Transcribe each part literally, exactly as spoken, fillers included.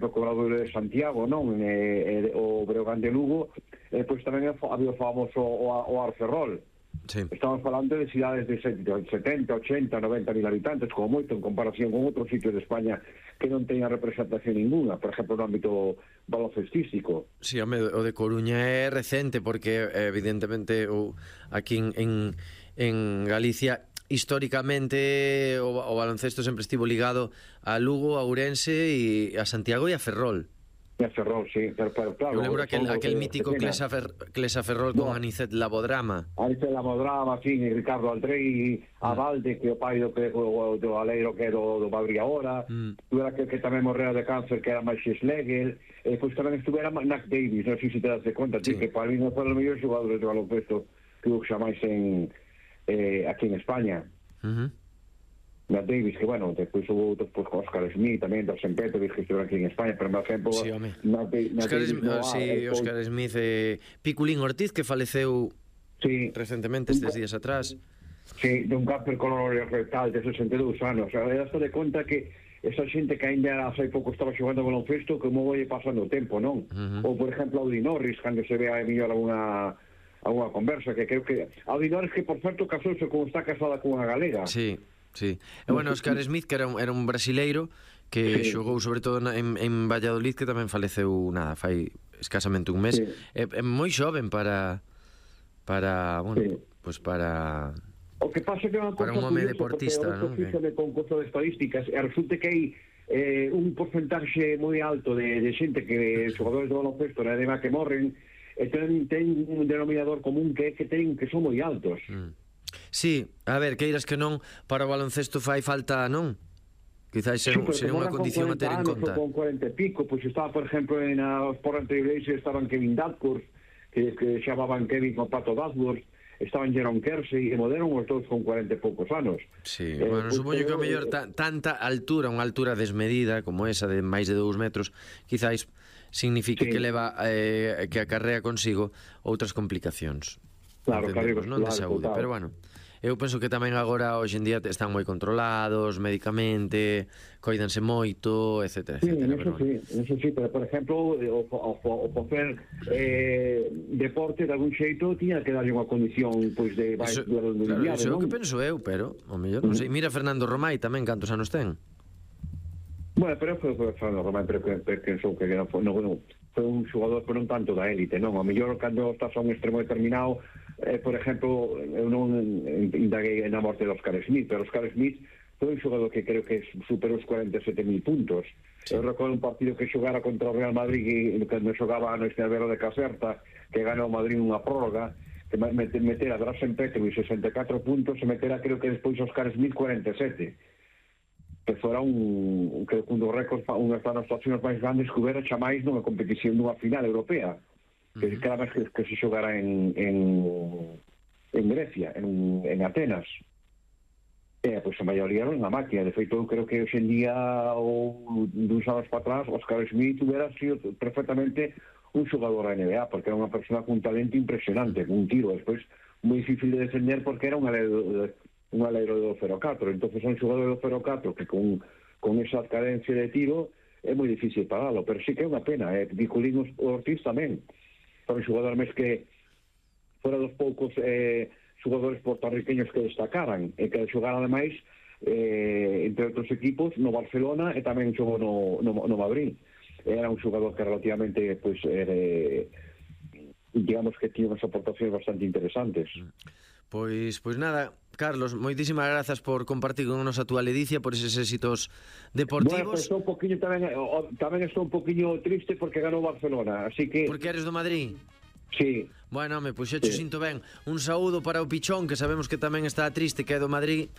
do Obradoiro de Santiago, non? E, e, o Breogán de Lugo, e pois tamén había o famoso o, o Arferrol. Sí. Estamos falando de cidades de setenta, ochenta, noventa mil habitantes, como moito, en comparación con outros sitios de España que non teñan representación ninguna, por exemplo, no ámbito baloncestístico. Sí, home, o de Coruña é recente, porque evidentemente o, aquí en, en, en Galicia históricamente o, o baloncesto sempre estivo ligado a Lugo, a Ourense e a Santiago e a Ferrol. E a Ferrol, sí, pero, pero claro... Eu lembro aquel, aquel mítico Clesa, Fer, Clesa Ferrol con no. Anicet Labodrama. Anicet Labodrama, sí, e Ricardo Aldrei, mm. a Valde, que o pai do, que, o, do Aleiro que é do, do Madrid agora, mm. tuvera que, que tamén morrera de cáncer, que era Maxi Schlegel, e pois tamén estuvera Nac Davis, non sei se te das de conta, sí. que para mí non foron os mellores xogadores de baloncesto que hubo xamais en, eh, aquí en España. Uh-huh. Nac Davis, que bueno, despois hubo outros, pues, Oscar Smith tamén, dos San Pedro, que estuvo aquí en España, pero por exemplo sí, home. Nac, Nac Oscar, Davis, no, sí, ah, Oscar pues, Smith eh, Piculín Ortiz, que faleceu sí, recentemente estes días atrás. sí, de un cáncer colorectal de sesenta e dous anos. O sea, daste de conta que esa xente que ainda hai pouco estaba xogando baloncesto, como vai pasando o tempo, non? Uh-huh. Ou por exemplo Audi Norris, cando se ve a mellor alguna alguna conversa, que creo que Audi Norris, que por certo casouse como está casada con unha galega. Sí, sí. E bueno, Oscar Smith, que era un, era un brasileiro que sí. xogou sobre todo en, en Valladolid, que tamén faleceu nada, fai escasamente un mes. Sí. É, é moi xoven para para, bueno, sí. pues para o que pasa que é unha para un home deportista, non? Porque o concurso de estadísticas e resulta que hai eh, un porcentaxe moi alto de, de xente que xogadores de baloncesto na edema que morren e ten, ten un denominador común que é que ten que son moi altos. Mm. Sí, a ver, queiras que non, para o baloncesto fai falta, non? Quizás ser, sí, ser unha condición a ter en conta. Con cuarenta e pico, pois pues estaba, por exemplo, en a Sport Anteriores estaban Kevin Dadcourt, que, que chamaban Kevin con Pato Dadcourt, estaban Jerome Kersey e modernos os todos con cuarenta e poucos anos. Sí, eh, bueno, pues, supoño que o mellor ta, tanta altura, unha altura desmedida como esa de máis de dous metros, quizáis signifique sí. que leva eh, que acarrea consigo outras complicacións. Claro, claro, non de saúde, total. Pero bueno, eu penso que tamén agora hoxe en día están moi controlados medicamente, coidanse moito, etcétera, sí, etcétera. Eso pero sí, bueno. Eso sí, pero por exemplo o, o, o, o facer eh, deporte de algún xeito tiña que darlle unha condición pois de vai eso, claro, eso é o que penso eu, pero o mellor non sei. Mira Fernando Romai tamén, cantos anos ten? Bueno, pero foi Fernando Romai, pero que pensou que non foi, non, non, foi un xogador pero non tanto da élite, non? O mellor cando estás a un extremo determinado, eh, por exemplo, eu non indaguei na morte de Oscar Smith, pero Oscar Smith foi un xogador que creo que superou os cuarenta e sete mil puntos. Sí. Eu recordo un partido que xogara contra o Real Madrid, que cando xogaba no Estelvero de Caserta, que ganou o Madrid unha prórroga, que metera Drazen Petrovic sesenta e catro puntos, e metera creo que despois Oscar Smith cuarenta e sete. Que fora un, creo que un dos récords, unha das actuacións máis grandes que houbera chamais nunha competición dunha final europea, que uh-huh. cada vez que, que se xogara en, en, en Grecia, en, en Atenas. E, pois, a maioría era unha máquina. De feito, eu creo que hoxe en día, ou duns anos para atrás, Oscar Smith hubiera sido perfectamente un xogador da N B A, porque era unha persona con un talento impresionante, con un tiro, despois, moi difícil de defender, porque era un alero, un alero de dos cero catro. Entonces, un xogador de dos cero catro que con, con esa cadencia de tiro é moi difícil paralo, pero sí que é unha pena. Eh? Piculín Ortiz tamén. Foi un xogador mes que fora dos poucos eh, xogadores portorriqueños que destacaran e que xogaran ademais eh, entre outros equipos no Barcelona e tamén xogou no, no, no Madrid. Era un xogador que relativamente pois, eh, digamos que tiña unhas aportacións bastante interesantes. Pois pois nada, Carlos, moitísimas grazas por compartir con nos a túa ledicia, por eses éxitos deportivos. Bueno, pues estou un poquinho tamén, tamén estou un poquinho triste porque ganou Barcelona, así que... Porque eres do Madrid? Sí. Bueno, home, pois xo sí. Sinto ben. Un saúdo para o Pichón, que sabemos que tamén está triste, que é do Madrid.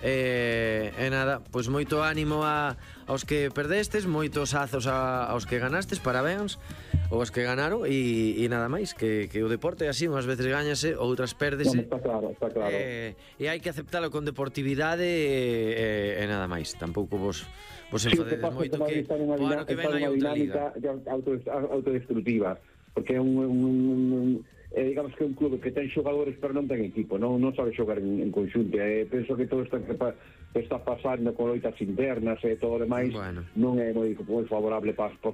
E, e nada, pois moito ánimo a, aos que perdestes, moitos azos a, aos que ganastes, parabéns aos que ganaron, e, e nada máis, que, que o deporte é así, unhas veces gañase, outras pérdese. No, está claro, está claro. E, e hai que aceptalo con deportividade e, e, e nada máis. Tampouco vos, vos enfadedes sí, moito que o ano que ven hai outra liga. Autodestructiva. Porque é un, un, un é, digamos que é un clube que ten xogadores pero non ten equipo, non, non sabe xogar en, en conxunto. E penso que todos están está pasando con loitas internas e todo o demais, Bueno. non é moi, moi favorable para, para,